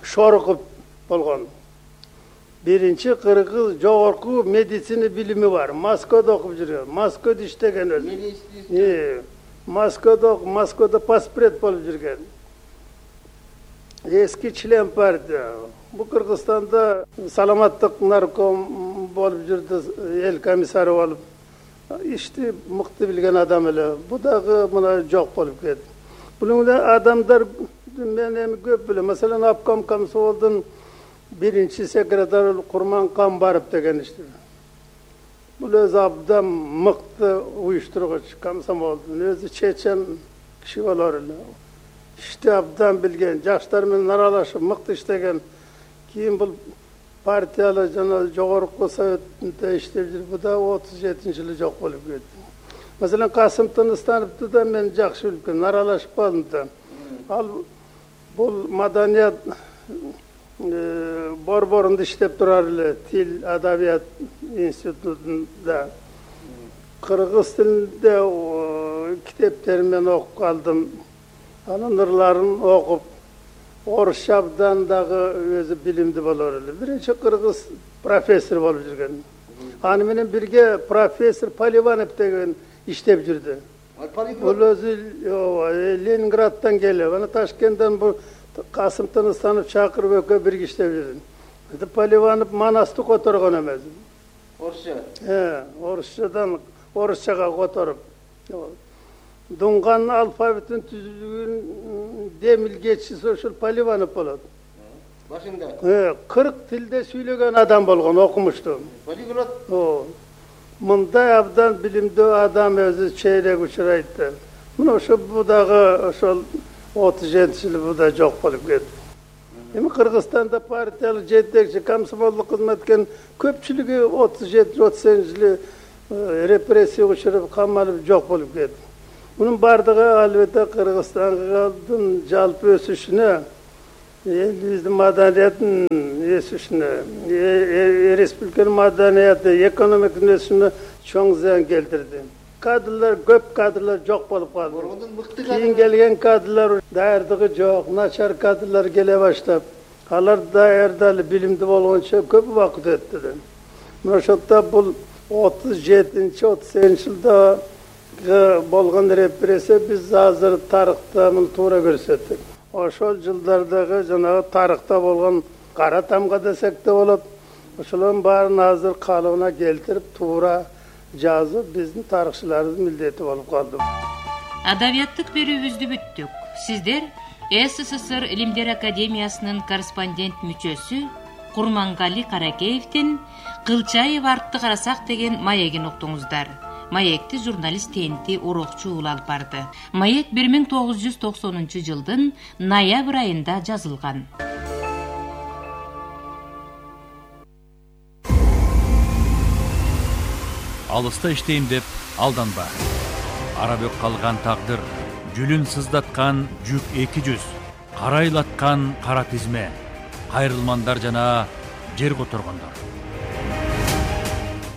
Шороков болгон. Биринчи кыргыз жогорку медицина билими бар. Москвада окуп жүргөн. Москвада иштеген өзү. Москвада, Москвада паспорт болуп жүргөн. Эски член партия. Бу Кыргызстанда саламаттык нарком болуп жүрдү, эл комиссары болуп. Ишти мыкты билген адам эле. Бу дагы мына жок болуп кетти. Бул адамдар мен эми көп билем. Маселен, обком комсомолдун биринчи секретары Курман Камбаров деген ишти. Бул өзү абдан мыкты уюштургуч комсомолдун, өзү чечен киши болор эле. Ишти абдан билген, жаштар менен аралашып мыкты иштеген. Кийин бул партиялы жана жогорку советте иштеп жүрүп, бу да отуз жетинчи жылы жок болуп кетти. Маселен, Касым Тыныстановду да мен жакшы билип келем, аралашып калдым да. Ал бул маданият борборунда иштеп турар эле, Тил адабият институтунда. Кыргыз тилинде китептерин мен окуп калдым. Анын ырларын окуп, орусча абдан дагы өзү билимдүү болор эле. Биринчи кыргыз профессор болуп жүргөн. Аны менен бирге профессор Поливанов деген иштеп жүрдү. Бул өзү Ленинграддан келип, ана Ташкенттен бул Касым Тыныстанов чакырып экөө бирге иштеп жүрдү. Поливанов Манасты которгон эмес. Орусча? Э, орусчадан орусчага которуп. Дунган алфавитин түзүлгөн демилгечиси ошол Поливанов болот. Башында? Э, кырк тилде сүйлөгөн адам болгон, окумуштуу. Полиглот? Мындай абдан билимдүү адам өзү чейрек учурайт. Мына ошо бу дагы ошол отуз жетинчи жылы бу да жок болуп кетти. Эми Кыргызстанда партиялык жетекчи, комсомолдук кызматкердин көпчүлүгү отуз жетинчи отуз сегизинчи жылы репрессия учуруп, камалып жок болуп кетти. Мунун бардыгы албетте Кыргызстандын жалпы өсүшүнө, элибиздин маданиятынын өсүшүнө, республиканын маданияты, экономиканын өсүшүнө чоң зыян келтирди. Кадрлар, көп кадрлар жок болуп калды. Кийин келген кадрлар даярдыгы жок, начар кадрлар келе баштап, алар даярдалып билимдүү болгончо көп убакыт өттү. Мына ошондо бул отуз жетинчи отуз сегизинчи жылда болгон репрессия биз азыр тарыхта муну туура көрсөттүк. Ошол жылдардагы жанагы тарыхта болгон кара тамга десек да болот. Ошолордун баарын азыр калыбына келтирип туура жазып биздин тарыхчылардын милдети болуп калды. Адабияттык берүүбүздү бүттүк. Сиздер СССР Илимдер Академиясынын корреспондент мүчөсү Курмангали Каракеевдин «Кылчаев артты карасак» деген маегин уктуңуздар. Маекти журналист Тенти Урокчу уулу алып барды. Маек бир миң тогуз жүз токсонунчу жылдын ноябрь айында жазылган. алыста иштейм деп алданба. Ара бөк калган тагдыр, жүлүн сыздаткан жүк эки жүз, карайлаткан кара тизме, кайрылмандар жана жер которгондор.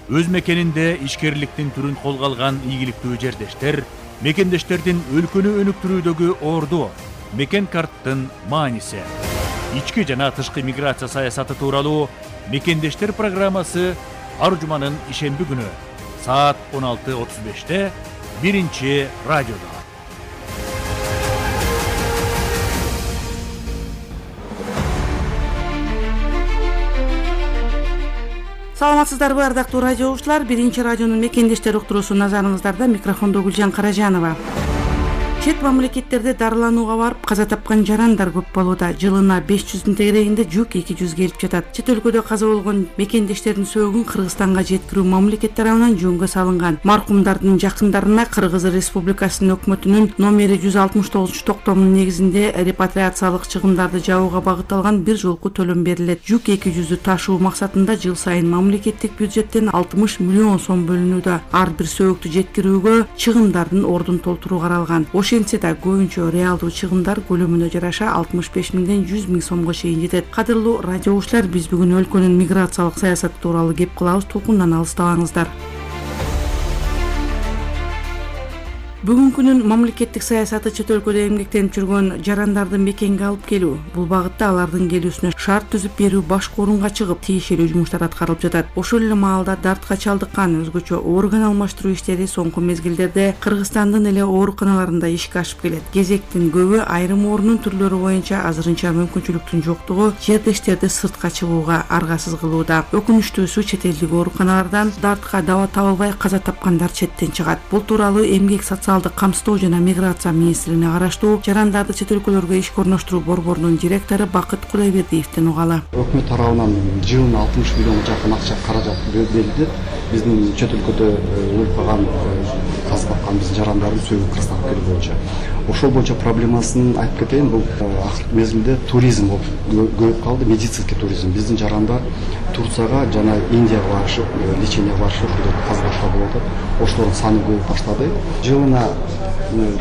Өз мекенинде ишкерликтин түрүн колго алган ийгиликтүү жердештер, мекендештердин өлкөнү өнүктүрүүдөгү орду, мекен карттын мааниси, ички жана тышкы миграция саясаты тууралуу Мекендештер программасы ар жуманын ишемби күнү саат он алты отуз беште биринчи радиодо. Саламатсыздарбы, ардактуу радио угуучулар? Биринчи радионун Мекендештер уктуруусу назарыңыздарда, микрофондо Гүлжан Каражанова. Чет мамлекеттерде дарыланууга барып каза тапкан жарандар көп болууда. Жылына беш жүздүн тегерегинде жүк эки жүз келип жатат. Чет өлкөдө каза болгон мекендештердин сөөгүн Кыргызстанга жеткирүү мамлекет тарабынан жөнгө салынган. Маркумдардын жакындарына Кыргыз Республикасынын өкмөтүнүн номери жүз алтымыш тогузунчу токтомунун негизинде репатриациялык чыгымдарды жабууга багытталган бир жолку төлөм берилет. Жүк эки жүздү ташуу максатында жыл сайын мамлекеттик бюджеттен алтымыш миллион сом бөлүнүүдө. Ар бир сөөгүктү жеткирүүгө чыгымдардын ордун толтуруу каралган. Ошентсе да көбүнчө реалдуу чыгымдар көлөмүнө жараша алтымыш беш миңден жүз миң сомго чейин жетет. Кадырлуу радио угуучулар, биз бүгүн өлкөнүн миграциялык саясаты тууралуу кеп кылабыз. Толкундан алыстабаңыздар. Бүгүнкүнүн мамлекеттик саясаты чет өлкөдө эмгектенип жүргөн жарандарды мекенге алып келүү. Бул багытта алардын келүүсүнө шарт түзүп берүү башкы орунга чыгып, тиешелүү жумуштар аткарылып жатат. Ошол эле маалда дартка чалдыккан өзгөчө орган алмаштыруу иштери соңку мезгилдерде Кыргызстандын эле ооруканаларында ишке ашып келет. Кезектин көбү айрым оорунун түрлөрү боюнча азырынча мүмкүнчүлүктүн жоктугу жердештерди сыртка чыгууга аргасыз кылууда. Өкүнүчтүүсү чет элдик ооруканалардан дартка даба табылбай каза тапкандар четтен чыгат. Бул тууралуу эмгек социал камсыздоо жана миграция министрлигине караштуу жарандарды чет өлкөлөргө ишке орноштуруу борборунун директору Бакыт Кудайбердиевден угалы. Өкмөт тарабынан жылына алтымыш миллионго жакын акча каражат берилди. Биздин чет өлкөдө өлүп калган, каза тапкан биздин жарандардын сөөгү Кыргызстанга келүү боюнча. Ошол боюнча проблемасын айтып кетейин. Бул акыркы мезгилде туризм көбөйүп калды, медицинский туризм. Биздин жарандар Турцияга жана Индияга барышып, лечениеге барышып, казалашка болуп атат. Ошолордун саны көбөйүп баштады. Жылына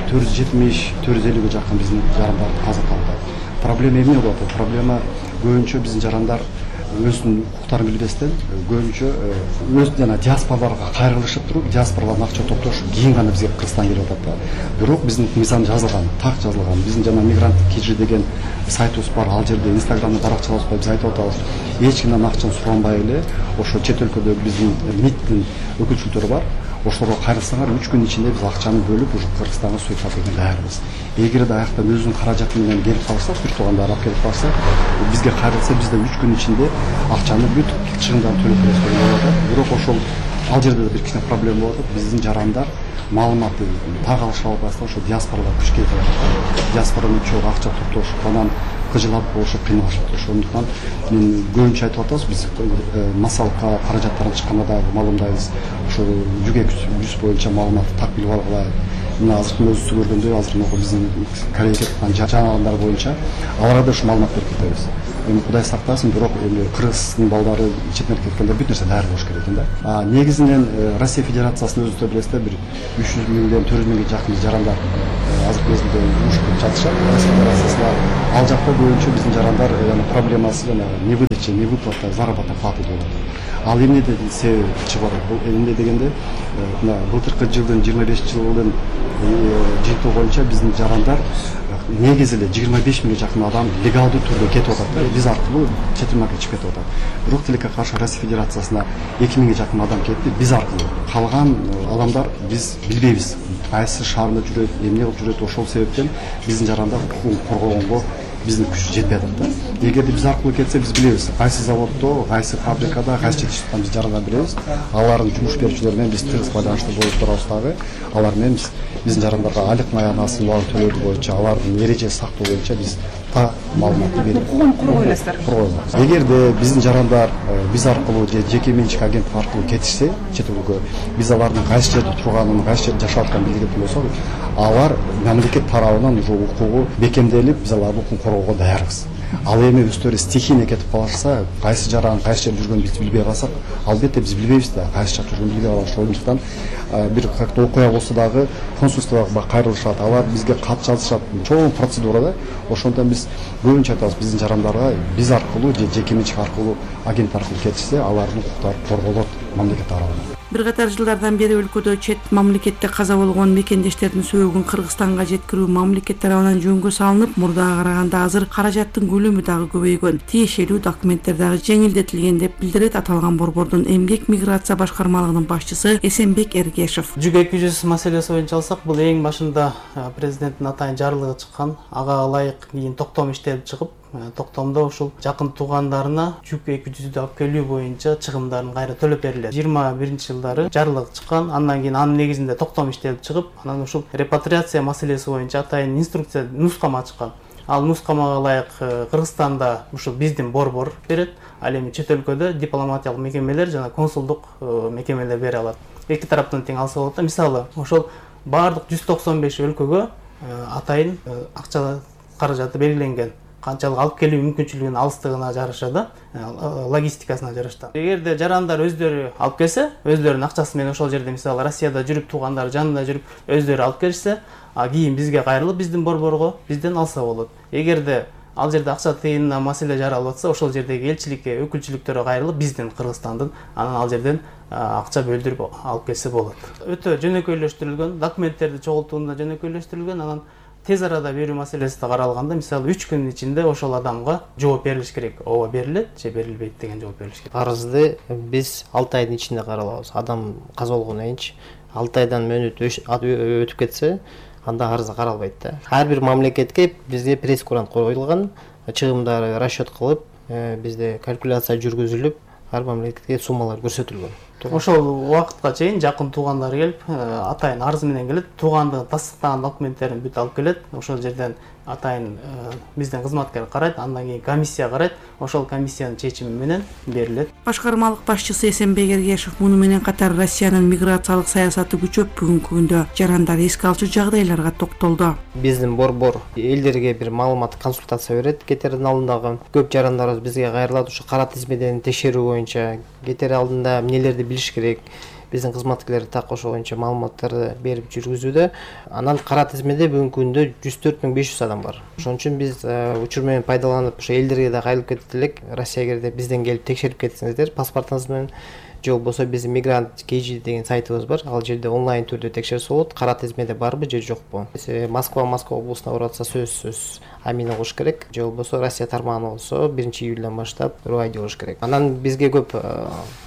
төрт жүз жетимиш төрт жүз элүүгө жакын биздин жарандар каза тапты. Проблема эмне болот? Проблема көбүнчө биздин жарандар өзүнүн укуктарын билбестен көбүнчө өз жана диаспораларга кайрылышып туруп, диаспоралардан акча топтошуп, кийин гана бизге Кыргызстанга келип атат да. Бирок биздин мыйзам жазылган, так жазылган. Биздин жана мигранттык кижи деген сайтыбыз бар. Ал жерде Инстаграмда баракчалабыз бар, биз айтып атабыз. Эч кимден акчаны суранбай эле, ошо чет өлкөдө биздин МИДтин өкүлчүлдөрү бар. Ошолорго кайрылсаңар үч күн ичинде биз акчаны бөлүп, уже Кыргызстанга суюп берген даярбыз. Эгерде аяктан өзүнүн каражаты менен келип калса, бир туугандар алып келип калса, бизге кайрылса, биз да үч күн ичинде акчаны бүт чыгымдарды төлөп беребиз деген болот. Бирок ошол ал жерде да бир кичине проблема болот. Биздин жарандар маалыматты так алыша албастан ошо диаспоралар күчкө кетет. Диаспорадан чогуу акча топтошуп, анан кыжылап болушу кыйналышат. Ошондуктан мен көбүнчө айтып атабыз, биз массалыкка каражаттарын чыкканда да маалымдайбыз. Ошо жүк эки жүз боюнча маалыматты так билип алгыла. Мына азыркы өзү көргөндөй, азыр могу биздин Кореяга кеткан жарандар боюнча аларга да ушу маалымат берип кетебиз. Эми Кудай сактасын, бирок эми Кыргыздын балдары четинен кеткенде бүт нерсе даяр болуш керек экен да. А негизинен Россия Федерациясынын өзү билесиздер, бир үч жүз миңден төрт жүз миңге жакын жарандар азыркы мезгилде уюшуп жатышат. Россия Федерациясында ал жакта боюнча биздин жарандар жана проблемасы жана невыдача, невыплата заработной платы деп атат. Ал эмнеден себеби чыгып атат? Бул эмне дегенде, мына былтыркы жылдын жыйырма бешинчи жылдын жыйынтыгы боюнча биздин жарандар негизи эле жыйырма беш миңге жакын адам легалдуу түрдө кетип атат да, биз аркылуу чет элге чыгып кетип атат. Бирок тилекке каршы Россия Федерациясына эки миңге жакын адам кетти, биз аркылуу. Калган адамдар биз билбейбиз. Кайсы шаарда жүрөт, эмне кылып жүрөт, ошол себептен биздин жарандар укугун коргогонго биздин күч жетпей атат да. Эгерде биз аркылуу кетсе, биз билебиз. Кайсы заводдо, кайсы фабрикада, кайсы жетишип биз жарандар билебиз. Алардын жумуш берүүчүлөрү менен биз тыгыз байланышта болуп турабыз дагы. Алар менен биз биздин жарандарга айлык маянасы бар төлөө боюнча, алардын эрежесин сактоо боюнча биз та маалыматты берип укугун коргойлойсуздар. Эгерде биздин жарандар биз аркылуу же жеке менчик агенттик аркылуу кетишсе, чет өлкөгө, биз алардын кайсы жерде турганын, кайсы жерде жашап атканын билген болсок, алар мамлекет тарабынан уже укугу бекемделип, биз алардын укугун коргоого даярбыз. Ал эми өздөрү стихийно кетип калышса, кайсы жаран кайсы жерде жүргөнүн биз билбей калсак, албетте биз билбейбиз да, кайсы жакта жүргөнүн билбей калабыз. Ошондуктан бир как-то окуя болсо дагы консульствого кайрылышат, алар бизге кат жазышат. Чоң процедура да. Ошондон биз көбүнчө айтабыз, биздин жарандарга биз аркылуу же жеке менчик аркылуу, агент аркылуу кетишсе, алардын укуктары корголот мамлекет тарабынан. Бир катар жылдардан бери өлкөдө чет мамлекетте каза болгон мекендештердин сөөгүн Кыргызстанга жеткирүү мамлекет тарабынан жөнгө салынып, мурдага караганда азыр каражаттын көлөмү дагы көбөйгөн, тиешелүү документтер дагы жеңилдетилген деп билдирет аталган борбордун эмгек миграция башкармалыгынын башчысы Эсенбек Эргешев. жүз эки жүз маселеси боюнча алсак, бул эң башында президенттин атайын жарлыгы чыккан, ага ылайык кийин токтом иштелип чыгып, токтомдо ушул жакын туугандарына жүз эки жүздү алып келүү боюнча чыгымдарын кайра төлөп берилет. жыйырма биринчи жылдары жарлык чыккан, андан кийин анын негизинде токтом иштелип чыгып, анан ушул репатриация маселеси боюнча атайын инструкция, нускама чыккан. Ал нускамага ылайык Кыргызстанда ушул биздин борбор берет, ал эми чет өлкөдө дипломатиялык мекемелер жана консулдук мекемелер бере алат. Эки тараптан тең алса болот да. Мисалы, ошол баардык жүз токсон беш өлкөгө атайын акча каражаты белгиленген. Канчалык алып келүү мүмкүнчүлүгүнүн алыстыгына жараша да, логистикасына жараша. Эгерде жарандар өздөрү алып келсе, өздөрүнүн акчасы менен ошол жерде, мисалы, Россияда жүрүп, туугандары жанында жүрүп, өздөрү алып келишсе, а кийин бизге кайрылып, биздин борборго бизден алса болот. Эгерде ал жерде акча тыйынына маселе жаралып атса, ошол жердеги элчиликке, өкүлчүлүктөргө кайрылып, биздин Кыргызстандын анан ал жерден акча бөлдүрүп алып келсе болот. Өтө жөнөкөйлөштүрүлгөн, документтерди чогултууда жөнөкөйлөштүрүлгөн, анан тез арада берүү маселеси да каралганда, мисалы, үч күнүн ичинде ошол адамга жооп берилиш керек. Ооба берилет же берилбейт деген жооп берилиш керек. Арызды биз алты айдын ичинде каралабыз. Адам каза болгондон кийин алты айдан мөөнөт өтүп кетсе, анда арыз каралбайт да. Ар бир мамлекетке бизде пресс-курант коюлган, чыгымдары расчет кылып, бизде калькуляция жүргүзүлүп, ар мамлекетке суммалар көрсөтүлгөн. Ошол убакытка чейин жакын туугандары келип, атайын арыз менен келет, туугандыгын тастыктаган документтерин бүт алып келет. Ошол жерден атайын биздин кызматкер карайт, андан кийин комиссия карайт, ошол комиссиянын чечими менен берилет. Башкармалык башчысы Эсенбек Эргешев муну менен катар Россиянын миграциялык саясаты күчөп, бүгүнкү күндө жарандар эске алчу жагдайларга токтолду. Биздин борбор элдерге бир маалымат, консультация берет. Кетердин алдындагы көп жарандарыбыз бизге кайрылат, ушу кара тизмеден текшерүү боюнча, кетер алдында эмнелерди билиш керек. Биздин кызматкерлер так ошол боюнча маалыматтарды берип жүргүзүүдө. Анан кара тизмеде бүгүнкү күндө жүз төрт миң беш жүз адам бар. Ошон үчүн биз учур менен пайдаланып, ошо элдерге да кайрылып кетет элек. Россияга бизден келип текшерип кетсеңиздер, паспортуңуз менен же болбосо биздин мигрант kg деген сайтыбыз бар. Ал жерде онлайн түрдө текшерсе болот. Кара тизмеде барбы же жокпу? Москва, Москва облусуна баратса сөзсүз амин угуш керек. Же болбосо Россия тармагына болсо биринчи июлдан баштап рой болуш керек. Анан бизге көп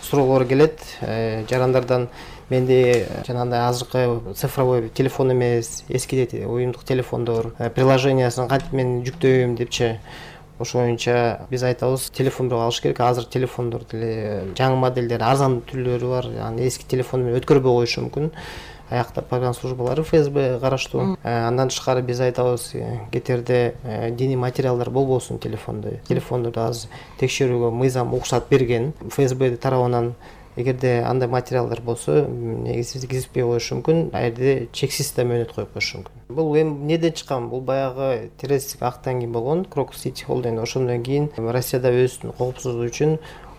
суроолор келет жарандардан. Менде жанагындай азыркы цифровой телефон эмес, эски уюмдук телефондор, приложениясын кантип мен жүктөйм депчи. Ошол боюнча биз айтабыз, телефон бирок алыш керек. Азыр телефондор деле жаңы модельдер, арзан түрлөрү бар. Аны эски телефон менен өткөрбөй коюшу мүмкүн. Аякта программа службалары эф эс бэ караштуу. Андан тышкары биз айтабыз, кетерде диний материалдар болбосун телефондо. Телефондорду азыр текшерүүгө мыйзам уруксат берген. эф эс бэ тарабынан эгерде андай материалдар болсо, негизи киргизбей коюшу мүмкүн, а жерде чексиз да мөөнөт коюп коюшу мүмкүн. Бул эми эмнеден чыккан? Бул баягы террористтик актан кийин болгон, Крокус Сити Холл деген. Ошондон кийин Россияда өзүнүн коопсуздугу үчүн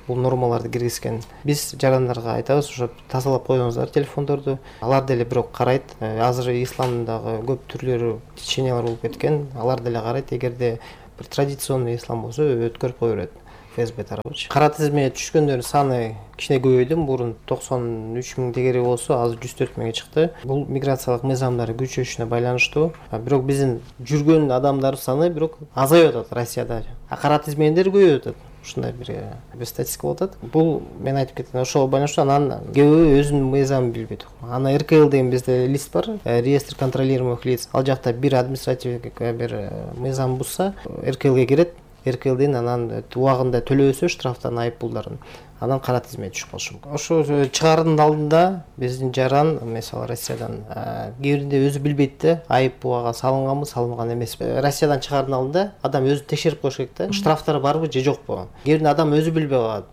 бул нормаларды киргизген. Биз жарандарга айтабыз, ошо тазалап коюңуздар телефондорду. Алар деле бирок карайт. Азыр исламдагы көп түрлөрү, течениялар болуп кеткен. Алар деле карайт. Эгерде бир традиционный ислам болсо, өткөрүп кое берет. эф эс бэ тарабычы. Кара тизмеге түшкөндөрдүн саны кичине көбөйдү. Мурун токсон үч миң тегери болсо, азыр жүз төрт миңге чыкты. Бул миграциялык мыйзамдары күчөшүнө байланыштуу. Бирок биздин жүргөн адамдар саны бирок азайып атат Россияда. А кара тизмеден көбөйүп атат. Ушундай бир бир статистика болуп атат. Бул мен айтып кеткен ошол байланыштуу. Анан көбү өзүнүн мыйзамын билбейт. Ана эр ка эл деген бизде лист бар, реестр контролируемых лиц. Ал жакта бир административдик бир мыйзам бузса, эр ка элге кирет. эр ка элден анан убагында төлөбөсө штрафтан, айып пулдарын, анан кара тизмеге түшүп калышы мүмкүн. Ошо чыгаардын алдында биздин жаран мисалы Россиядан кээ биринде өзү билбейт да, айып буга салынганбы, салынган эмеспи. Россиядан чыгаардын алдында адам өзү текшерип коюш керек да. Штрафтар барбы же жокпу? Кээ биринде адам өзү билбей калат.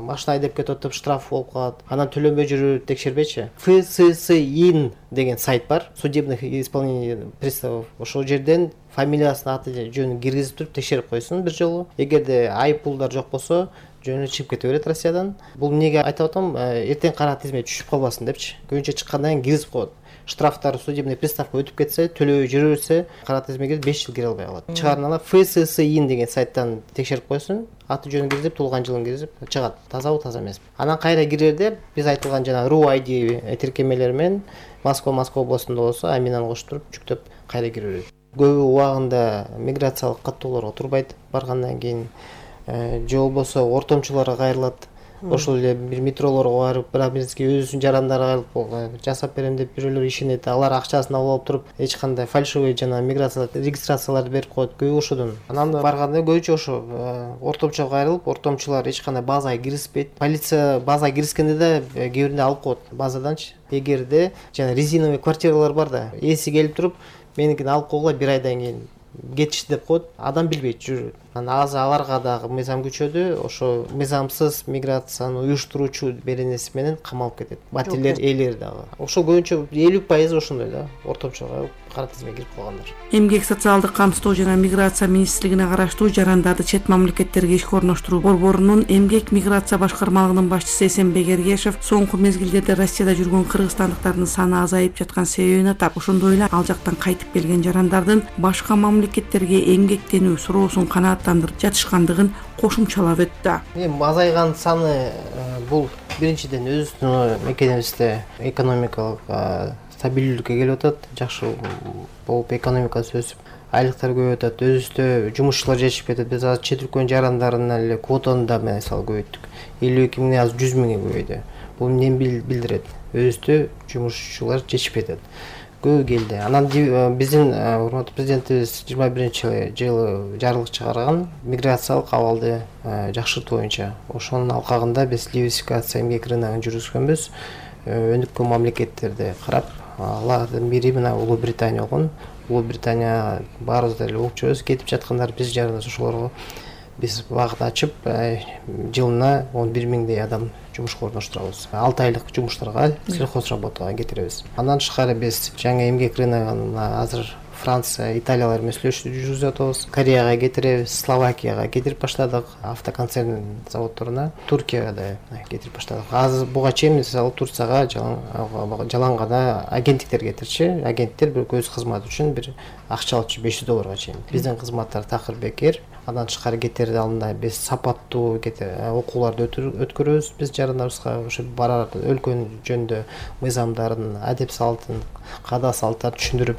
Машина айдап кетип атып штраф болуп калат. Анан төлөнбөй жүрүп текшербейчи. эф эс эс ин деген сайт бар. Судебных исполнений приставов. Ошол жерден фамилиясын, аты жөнүн киргизип туруп текшерип койсун бир жолу. Эгерде айып пулдар жок болсо, жөнү чыгып кете берет Россиядан. Бул эмнеге айтып атам? Эртең кара тизмеге түшүп калбасын депчи. Көбүнчө чыккандан кийин киргизип коет. Штрафтар судебный приставка өтүп кетсе, төлөбөй жүрө берсе, кара тизмеге беш жыл кире албай калат. Чыгаардын ала эф эс эс ин деген сайттан текшерип койсун, аты жөнүн киргизип, туулган жылын киргизип чыгат. Тазабы, таза эмеспи. Анан кайра кирерде биз айтылган жана ру ай ди тиркемелер менен Москва Москва областында болсо, аминаны кошуп туруп жүктөп кайра кире берет. Көбү убагында миграциялык каттоолорго турбайт баргандан кийин, же болбосо ортомчуларга кайрылат. Ошол эле бир метролорго барып, бирабизге өзүнүн жарандары кайрылып жасап берем деп бирөөлөр ишенет. Алар акчасын алып алып туруп, эч кандай фальшивый жана миграциялык регистрацияларды берип коет. Көбү ошодон. Анан барганда көбүнчө ошо ортомчуга кайрылып, ортомчулар эч кандай базага киргизбейт. Полиция базага киргизгенде да кээ биринде алып коет базаданчы. Эгерде жана резиновый квартиралар бар да, ээси келип туруп, меникин алып койгула бир айдан кийин кетишти деп коет. Адам билбейт, жүрөт. Анан азыр аларга дагы мыйзам күчөдү. Ошо мыйзамсыз миграцияны уюштуруучу беренеси менен камалып кетет. Батирлер ээлери дагы. Ошо көбүнчө элүү пайыз ошондой да, ортомчуга кара тизмеге кирип калгандар. Эмгек социалдык камсыздоо жана миграция министрлигине караштуу жарандарды чет мамлекеттерге ишке орноштуруу борборунун эмгек миграция башкармалыгынын башчысы Эсенбек Эргешев соңку мезгилдерде Россияда жүргөн кыргызстандыктардын саны азайып жаткан себебин атап, ошондой эле ал жактан кайтып келген жарандардын башка мамлекеттерге эмгектенүү суроосун канааттандырып жатышкандыгын кошумчалап өттү. Эми азайган саны бул биринчиден өзүбүздүн мекенибизде экономикалык стабилдүүлүккө келип атат, жакшы болуп экономикасы өсүп, айлыктар көбөйүп атат, өзүбүздө жумушчулар жетишип кетет. Биз азыр чет өлкөнүн жарандарынын эле квотаны да мисалы көбөйттүк. элүү эки миңден азыр жүз миңге көбөйдү. Бул эмнени билдирет? Өзүбүздө жумушчулар жетишип кетет. Көбү келди. Анан биздин урматтуу президентибиз жыйырма биринчи жылы жарлык чыгарган миграциялык абалды жакшыртуу боюнча. Ошонун алкагында биз диверсификация эмгек рыногун жүргүзгөнбүз. Өнүккөн мамлекеттерди карап, алардын бири мына Улуу Британия болгон. Улуу Британия баарыбыз деле угуп жүрөбүз, кетип жаткандар биз жараныбыз ошолорго биз багыт ачып, жылына он бир миңдей адам жумушка орноштурабыз. алты айлык жумуштарга, сельхоз работага кетиребиз. Андан тышкары биз жаңы эмгек рыногуна азыр Франция, Италиялар менен сүйлөшүү жүргүзүп атабыз. Кореяга кетиребиз, Словакияга кетирип баштадык, автоконцерн заводдоруна, Туркияга да кетирип баштадык. Азыр буга чейин мисалы Турцияга жалаң гана агенттиктер кетирчи. Агенттер бир өз кызматы үчүн бир акча алчу беш жүз долларга чейин. Биздин кызматтар такыр бекер. Андан тышкары кетерде алдында биз сапаттуу окууларды өткөрөбүз. Биз жарандарыбызга ошо барар өлкөнүн жөнүндө мыйзамдарын, адеп салтын, каада салттарын түшүндүрүп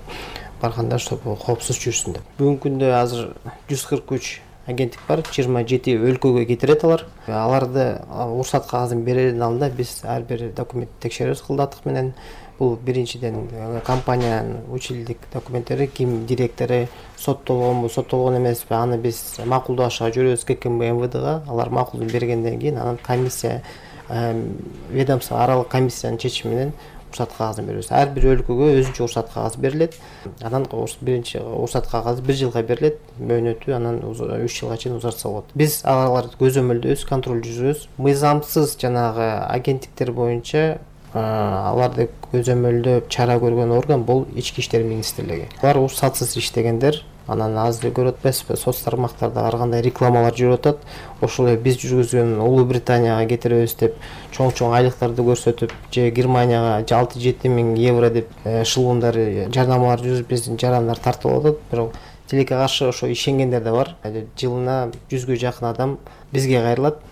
барганда ошо коопсуз жүрсүн деп. Бүгүнкү күндө азыр жүз кырк үч агенттик бар, жыйырма жети өлкөгө кетирет алар. Аларды уруксат кагазын берердин алдында биз ар бир документти текшеребиз кылдатык менен. Бул биринчиден компаниянын училдик документтери, ким директору соттолгонбу, соттолгон эмеспи, аны биз макулдашка жүрөбүз ка ка эм эм вэ дга. Алар макулдук бергенден кийин анан комиссия, ведомство аралык комиссиянын чечими менен уруксат кагазын беребиз. Ар бир өлкөгө өзүнчө уруксат кагазы берилет. Анан биринчи уруксат кагазы бир жылга берилет, мөөнөтү анан үч жылга чейин узартса болот. Биз аларды көзөмөлдөйбүз, контроль жүргүзөбүз. Мыйзамсыз жанагы агенттиктер боюнча аларды көзөмөлдөп чара көргөн орган бул Ички иштер министрлиги. Алар уруксатсыз иштегендер. Анан азыр көрүп атпайсызбы, соц тармактарда ар кандай рекламалар жүрүп атат. Ошол эле биз жүргүзгөн Улуу Британияга кетиребиз деп чоң-чоң айлыктарды көрсөтүп, же Германияга алты жети миң евро деп шылуундар, жарнамалар жүрүп биздин жарандар тартылып атат. Бирок тилекке каршы ошо ишенгендер да бар. Жылына жүзгө жакын адам бизге кайрылат.